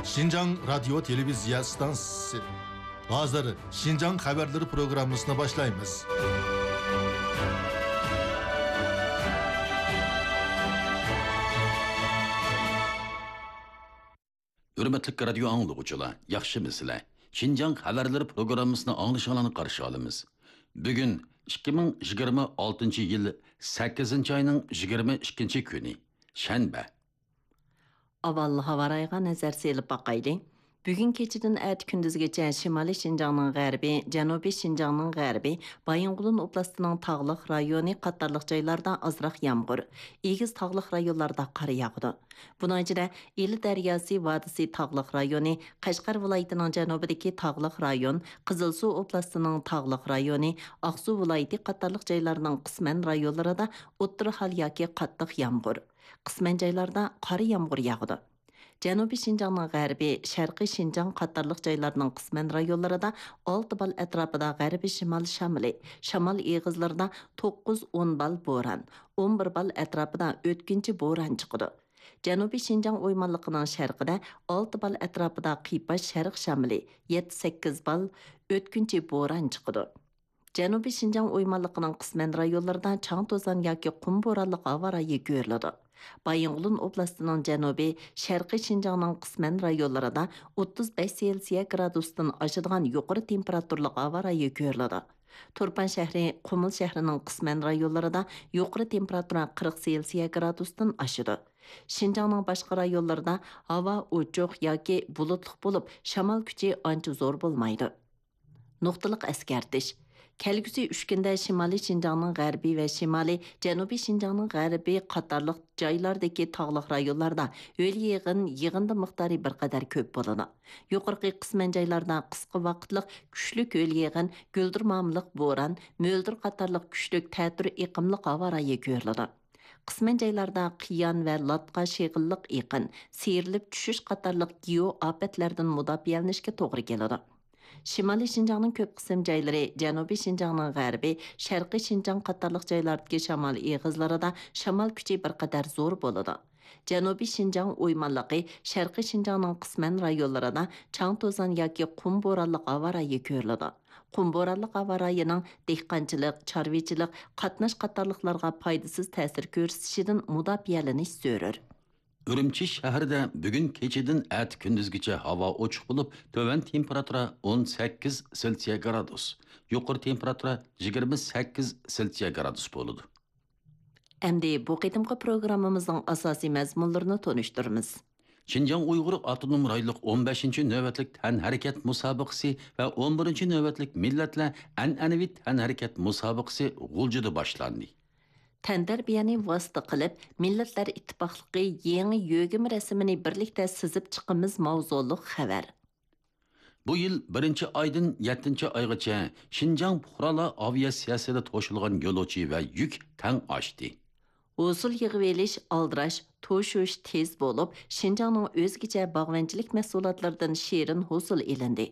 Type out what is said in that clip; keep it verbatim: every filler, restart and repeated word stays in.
شىنجاڭ رادىيو تېلېۋىزىيە ئىستانسىسى. ھازىر شىنجاڭ خەۋەرلىرى پروگراممىسىنى باشلايمىز. ھۆرمەتلىك رادىيو ئاڭلىغۇچىلار، ياخشىمۇسىلەر؟ شىنجاڭ خەۋەرلىرى پروگراممىسىنى ئاڭلىشىڭلارنى قارشى ئالىمىز. بۈگۈن ئىككى مىڭ يىگىرمە ئالتىنچى يىل سەككىزىنچى ئاينىڭ يىگىرمە ئىككىنچى كۈنى، شەنبە. ئاۋۋال ھاۋا رايىغا نەزەر سېلىپ باقايلى. بۈگۈن كېچىدىن ئەتە كۈندۈزگىچە شىمالىي شىنجاڭنىڭ غەربى، جەنۇبىي شىنجاڭنىڭ غەربى، بايىنغولىن ئوبلاستىنىڭ تاغلىق رايونى قاتارلىق جايلاردا ئازراق يامغۇر، ئېگىز تاغلىق رايونلاردا قار ياغىدۇ. بۇنىڭ ئىچىدە ئىلى دەرياسى ۋادىسى تاغلىق رايونى، قەشقەر ۋىلايىتىنىڭ جەنۇبىدىكى تاغلىق رايون، قىزىلسۇ ئوبلاستىنىڭ تاغلىق رايونى، ئاقسۇ ۋىلايىتى قاتارلىق جايلارنىڭ قىسمەن رايونلىرىدا ئوتتۇرا ھال ياكى قاتتىق يامغۇر، قىسمەن جايلاردا قارا يامغۇر ياغىدۇ. جەنۇبىي شىنجاڭنىڭ غەربى، شەرقىي شىنجاڭ قاتارلىق جايلارنىڭ قىسمەن رايونلىرىدا ئالتە بال ئەتراپىدا غەربىي شىمال شامىلى، شامال ئېغىزلىرىدا توققۇز ئون بال بوران، ئون بىر بال ئەتراپىدا ئۆتكۈنچى بوران چىقىدۇ. جەنۇبىي شىنجاڭ ئويمانلىقىنىڭ شەرقىدە ئالتە بال ئەتراپىدا قىيپاش شەرق شامىلى، يەتتە سەككىز بال ئۆتكۈنچى بوران چىقىدۇ. جەنۇبىي شىنجاڭ ئويمانلىقىنىڭ قىسمەن رايونلىرىدا چاڭ-توزان ياكى قۇم بورانلىق ھاۋا رايى كۆرۈلىدۇ. بايىنغولىن ئوبلاستىنىڭ جەنۇبى، شەرقىي شىنجاڭنىڭ قىسمەن رايونلىرىدا ئوتتۇز بەش سېلسىيە گرادۇستىن ئاشىدىغان يۇقىرى تېمپېراتۇرىلىق ھاۋا رايى كۆرۈلىدۇ. تۇرپان شەھىرى، قۇمۇل شەھىرىنىڭ قىسمەن رايونلىرىدا يۇقىرى تېمپېراتۇرا قىرىق سېلسىيە گرادۇستىن ئاشىدۇ. شىنجاڭنىڭ باشقا رايونلىرىدا ھاۋا ئوچۇق ياكى بۇلۇتلۇق بولۇپ، شامال كۈچى ئانچە زور بولمايدۇ. نۇقتىلىق ئەسكەرتىش. كەلگۈسى ئۈچ كۈندە شىمالىي شىنجاڭنىڭ غەربى ۋە شىمالىي، جەنۇبىي شىنجاڭنىڭ غەربى قاتارلىق جايلاردىكى تاغلىق رايونلاردا ھۆل يېغىن يېغىندى مىقدارى بىر قەدەر كۆپ بولىدۇ. يۇقىرىقى قىسمەن جايلاردا قىسقا ۋاقىتلىق كۈچلۈك ھۆل يېغىن، گۈلدۈرمامىلىق بوران، مۆلدۈر قاتارلىق كۈچلۈك تەتۈر ئېقىملىق ھاۋا رايى كۆرۈلىدۇ. قىسمەن جايلاردا قىيان ۋە لاتقا شېغىللىق ئېقىن، سىيرىلىپ چۈشۈش قاتارلىق گېئو ئاپەتلەردىن مۇداپىئەلىنىشكە توغرا كېلىدۇ. شىمالىي شىنجاڭنىڭ كۆپ قىسىم جايلىرى، جەنۇبىي شىنجاڭنىڭ غەربى، شەرقىي شىنجاڭ قاتارلىق جايلاردىكى شامال ئېغىزلىرىدا شامال كۈچى بىر قەدەر زور بولىدۇ. جەنۇبىي شىنجاڭ ئويمانلىقى، شەرقىي شىنجاڭنىڭ قىسمەن رايونلىرىدا چاڭ-توزان ياكى قۇم بورانلىق ھاۋا رايى كۆرۈلىدۇ. قۇم بورانلىق ھاۋا رايىنىڭ دېھقانچىلىق، چارۋىچىلىق، قاتناش قاتارلىقلارغا پايدىسىز تەسىر كۆرسىتىشىدىن مۇداپىئەلىنىش زۆرۈر. ئۈرۈمچى شەھىرىدە بۈگۈن كېچىدىن ئەتە كۈندۈزگىچە ھاۋا ئوچۇق بولۇپ، تۆۋەن تېمپېراتۇرا ئون سەككىز سېلسىيە گرادۇس، يۇقىرى تېمپېراتۇرا يىگىرمە سەككىز سېلسىيە گرادۇس بولىدۇ. ئەمدى بۇ قېتىمقى پروگراممىمىزنىڭ ئاساسىي مەزمۇنلىرىنى تونۇشتۇرىمىز. شىنجاڭ ئۇيغۇر ئاپتونوم رايونلۇق ئون بەشىنچى نۆۋەتلىك تەنھەرىكەت مۇسابىقىسى ۋە ئون بىرىنچى نۆۋەتلىك مىللەتلەر ئەنئەنىۋى تەنھەرىكەت مۇسابىقىسى غۇلجىدا باشلاندى. تەنتەربىيەنى ۋاسىتە قىلىپ، مىللەتلەر ئىتتىپاقلىقى يېڭى يۆگىمە رەسىمىنى بىرلىكتە سىزىپ چىقىمىز ماۋزۇلۇق خەۋەر. بۇ يىل بىرىنچى ئايدىن يەتتىنچى ئايغىچە شىنجاڭ پۇقرالار ئاۋىئاتسىيەسىدە توشۇلغان يولۇچى ۋە يۈك تەڭ ئاشتى. ھوسۇل يىغىۋېلىش ئالدىراش، توشۇش تېز بولۇپ، شىنجاڭنىڭ ئۆزگىچە باغۋەنچىلىك مەھسۇلاتلىرىدىن شېرىن ھوسۇل ئېلىندى.